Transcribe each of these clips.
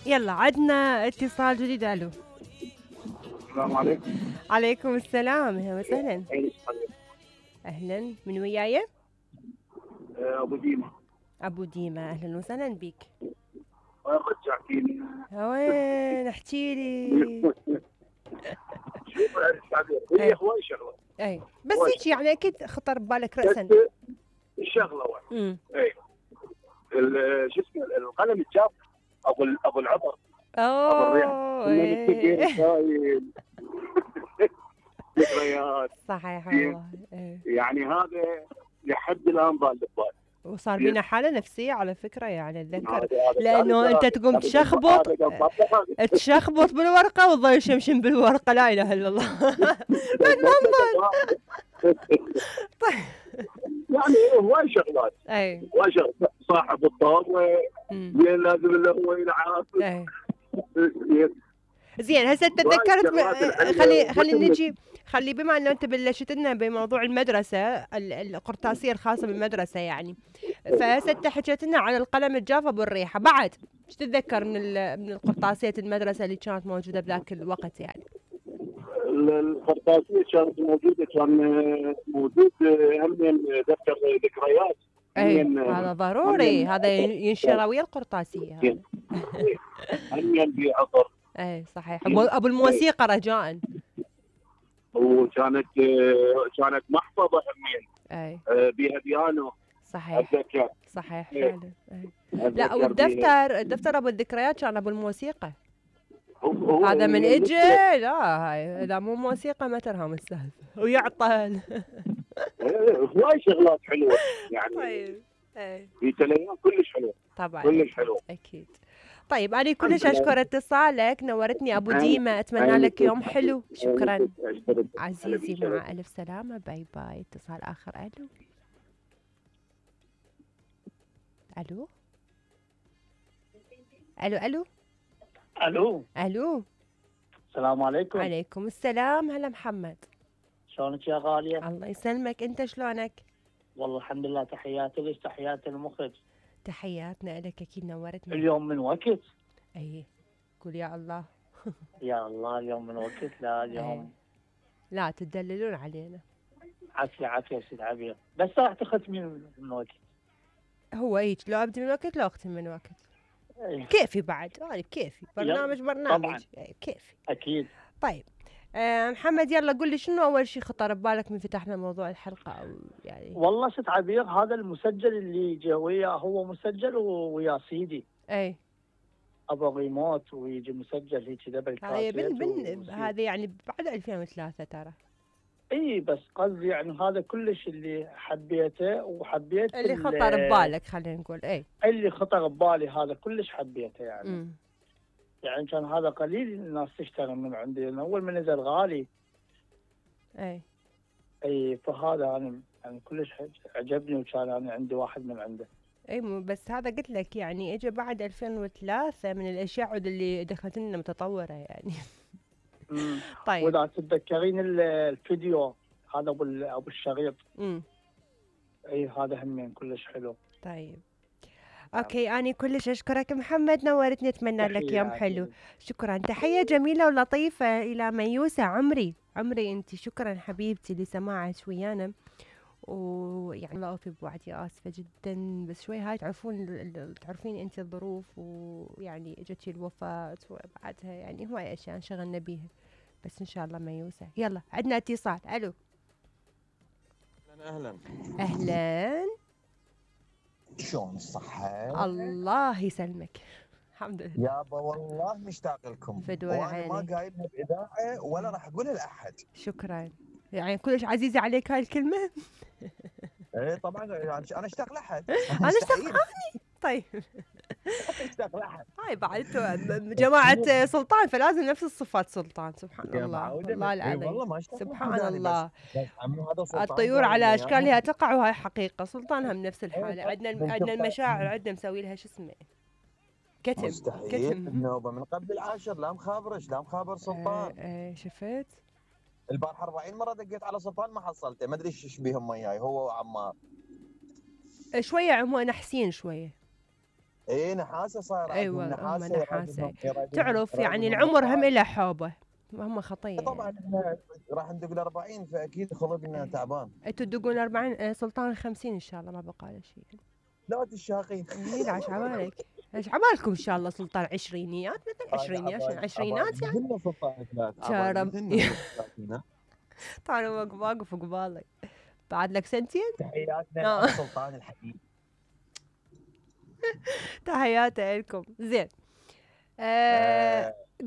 يلا عدنا اتصال جديد. الو. السلام عليكم. عليكم السلام، اهلا وسهلا. أهلا. اهلا، من وياي؟ ابو ديما. ابو ديما، اهلا وسهلا بك. رجعتيني. وين احكي لي. شوف هي هواي شغله. اي بس هيك يعني اكيد خطر ببالك راسا الشغله واحده. اي شو اسمه القلم الجاف ابو العطر. ابو الريحه. ذكريات. صحيح والله. يعني هذا لحد الان ضال ببالي. وصار بينا حالة نفسية على فكرة، يعني اتذكر لانه انت تقوم تشخبط بالورقة وتظل يشمشم بالورقة، لا اله الا الله. المنظر. طيب يعني هواي شغلات. اي هواي شغلات. صاحب الطاولة لازم له هو يلعب. زين هسه تذكرت. خلي بما انه انت بلشت لنا بموضوع المدرسه، القرطاسيه الخاصه بالمدرسه يعني، فهسه حكيت لنا عن القلم الجاف ابو الريحه، بعد ايش تتذكر من القرطاسيه المدرسه اللي كانت موجوده بذاك الوقت يعني؟ القرطاسيه كانت موجوده، كان موجود هم دفتر ذكريات. اي هذا ضروري، هذا ينشر ويا القرطاسيه هذا. هم بعطر. اي صحيح. ابو الموسيقى رجاء. وكانت محفظه همين. اي بها بيانو. صحيح. اتذكر. صحيح فعلا. لا والدفتر ابو الذكريات كان ابو الموسيقى. هذا من اجى. لا هاي اذا مو موسيقى ما ترهم السالفه ويعطل. هواي شغلات حلوه يعني. طيب في تليفون كلش حلوه طبعا، كلش حلو اكيد. طيب انا كلش اشكر اتصالك، نورتني ابو ديما، اتمنى لك يوم حلو. شكرا عزيزي، مع الف سلامه، باي باي. اتصال اخر. الو الو الو الو الو الو. السلام عليكم. عليكم السلام. هلا محمد، شلونك يا غاليه؟ الله يسلمك، انت شلونك؟ والله الحمد لله. تحياتي لك، تحياتي المخرج. تحياتنا لك، اكيد نورتنا. اليوم من وقت. اي قول يا الله. يا الله اليوم من وقت. لا اليوم لا تدللون علينا. عافيه سيد عبير، بس راح تختمين من وقت. هو هيك، لو ابدي من وقت لو اختم من وقت. كيفي بعد، هاي كيفي برنامج طبعا. كيفي اكيد. طيب محمد، يلا قل لي شنو اول شيء خطر ببالك من فتحنا موضوع الحلقه، او يعني؟ والله ست عبير، هذا المسجل اللي جا وياه هو مسجل ويا سيدي. اي ابو ريموت ويجي مسجل هيك ذا بالكاسيت. هذا يعني بعد 2003 ترى. اي بس قصدي يعني هذا كلش اللي حبيته، وحبيت اللي خطر ببالك خلينا نقول. اي اللي خطر ببالي هذا كلش حبيته يعني. يعني كان هذا قليل الناس تشتري من عندي، لأن أول ما نزل غالي. أي فهذا أنا يعني كلش عجبني، وكان أنا عندي واحد من عنده. اي بس هذا قلت لك يعني اجى بعد 2003، من الاشياء اللي دخلت لنا متطوره يعني. طيب واذا تتذكرين الفيديو هذا ابو الشريط. اي هذا همين كلش حلو. طيب اوكي، اني كلش اشكرك محمد، نورتني، اتمنى لك يوم حلو. شكرا، تحيه جميله ولطيفه الى ميوسه. عمري انت، شكرا حبيبتي لسماعك ويانا، ويعني الله اوفي بوعدي، اسفه جدا بس شوي هاي تعرفين انت الظروف، ويعني اجتي الوفاه وبعدها يعني هواي اشياء انشغلنا بيها، بس ان شاء الله ميوسه. يلا عندنا اتصال. الو. اهلا. شلون الصحة؟ الله يسلمك، الحمد لله يابا، والله مشتاق لكم، وانا ما قايلها بإذاعة ولا راح أقولها لأحد. شكرا، يعني كلش عزيزة عليك هاي الكلمة. ايه طبعا، أنا أشتاق لأحد. أنا أشتاق أني. طيب أشتاق لأحد. هاي بعد جماعة سلطان، فلازم نفس الصفات سلطان. سبحان الله، والله العظيم، سبحان الله. الطيور على أشكالها تقع، وهاي حقيقة. سلطان هم نفس الحالة. عندنا المشاعر، عندنا مسوي لها شو اسمه كتم. مستحيل النوبة من قبل العاشر، لا مخابرش لا مخابر سلطان. شفت البارحة 40 مرة دقيت على سلطان ما حصلته، ما ادري ايش بيهم وياي هو وعمار. شوية نحسين شوية. اي نحاسه صاير ايوه عندهم هم نحاسه نحاسه. تعرف يعني العمر هم له حوبه، هم خطيه طبعا يعني. احنا راح ندق ال 40 فاكيد خلقنا تعبان. انتوا تدقون 40 سلطان 50 ان شاء الله ما بقى له شيء. لا تشاقين. لا عاش عبالك، عاش عبالكم ان شاء الله سلطان عشرينيات مثل عشرينيات عشرينات يعني. مثلنا سلطان ثلاث شرب مثلنا. طالع واقف قبالك بعد لك سنتين. تحياتنا سلطان الحديد. تحياتي لكم. زين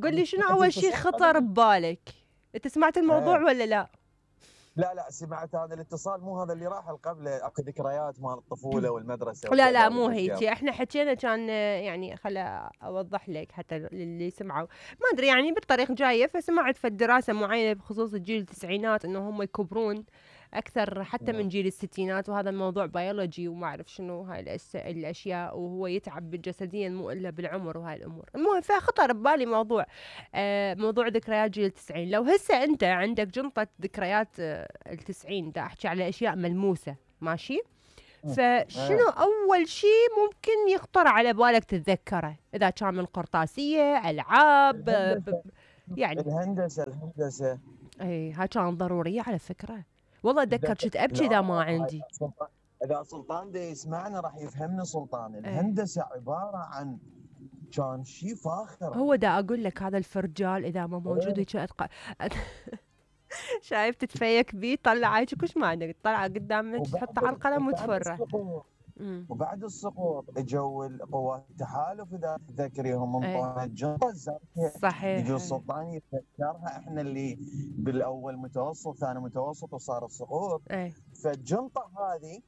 قل لي شنو اول شيء خطر ببالك؟ انت سمعت الموضوع ولا لا؟ لا سمعت هذا الاتصال، مو هذا اللي راح قبله اكو ذكريات مال الطفوله والمدرسه. لا مو هيك، احنا حكينا كان يعني خلا اوضح لك حتى اللي سمعوا ما ادري يعني بالطريق جايه، فسمعت في الدراسه معينه بخصوص الجيل التسعينات انه هم يكبرون اكثر حتى من جيل الستينات، وهذا الموضوع بيولوجي وما اعرف شنو هاي الاشياء، وهو يتعب جسديا مو الا بالعمر وهاي الامور. المهم فخطر ببالي موضوع موضوع ذكريات جيل التسعين. لو هسه انت عندك جنطه ذكريات التسعين، دا احكي على اشياء ملموسه ماشي، فشنو اول شيء ممكن يخطر على بالك تتذكره؟ اذا كان من قرطاسيه، العاب، يعني الهندسه اي هاي كانت ضروريه على فكره. والله اتذكر كنت ابكي اذا ما عندي. اذا سلطان دا يسمعنا راح يفهمنا سلطان. الهندسه عباره عن كان شيء فاخر. هو دا اقول لك هذا الفرجال اذا ما موجود هيك شايف تتفيك بيه طلع هيك كش ما عندك، تطلع قدامك تحطه على القلم وتفره. وبعد السقوط اجوا قوات التحالف اذا تذكريهم انطونا الجنطه الزرقاء. صحيح. يجوا السلطان يتذكرها، احنا اللي بالاول متوسط ثاني متوسط وصار السقوط. فالجنطه هذه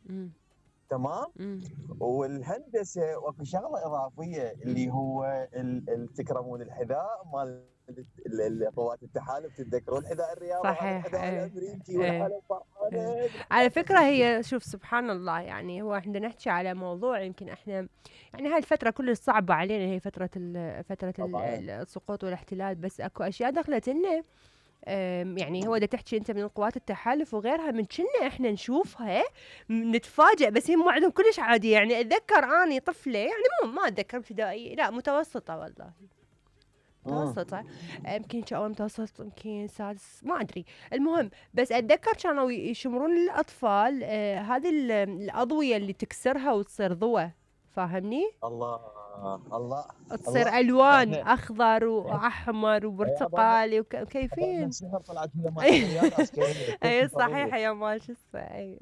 تمام. والهندسه واكو شغله اضافيه اللي هو تكرمون الحذاء مال قوات التحالف، تتذكرون الحذاء الرياضي؟ صحيح. الحذاء الامريكي والعالم فرحانه. على فكره هي شوف سبحان الله، يعني هو احنا نحكي على موضوع يمكن احنا يعني هاي الفتره كلش صعبه علينا، هي فتره السقوط والاحتلال، بس اكو اشياء دخلت لنا يعني هو دا تحكي انت من قوات التحالف وغيرها، من كنا احنا نشوفها نتفاجئ، بس هم عندهم كلش عادي. يعني اتذكر اني طفله، يعني ما اتذكر ابتدائي، لا متوسطه والله متوسطه، يمكن اول متوسط يمكن سادس ما ادري. المهم بس اتذكر كانوا يشمرون للاطفال هذه الاضويه اللي تكسرها وتصير ضوء، فاهمني؟ الله تصير الوان اخضر واحمر وبرتقالي وكيفين. اي صحيح يا ما شو اي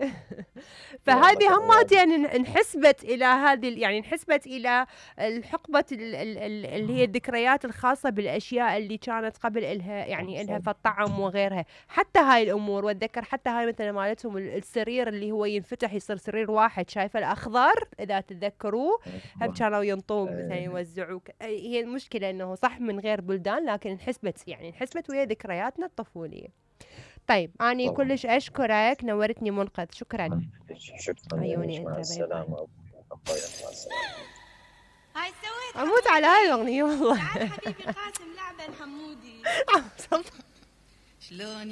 فهذه همات يعني انحسبت الى هذه، يعني انحسبت الى الحقبه اللي هي الذكريات الخاصه بالاشياء اللي كانت قبل الها، يعني الها في الطعم وغيرها. حتى هاي الامور واتذكر حتى هاي مثلا مالتهم السرير اللي هو ينفتح يصير سرير واحد، شايفه الاخضر اذا تتذكروه، هم كانوا ينطون مثلا يوزعوك. هي المشكله انه صح من غير بلدان، لكن انحسبت ويا ذكرياتنا الطفوليه. طيب اني كلش اشكرك، نورتني منقذ، شكرا. عيوني انت. السلامه. هاي سويت اموت على هاي الاغنيه والله. حبيبي قاسم لعبه الحمودي. شلون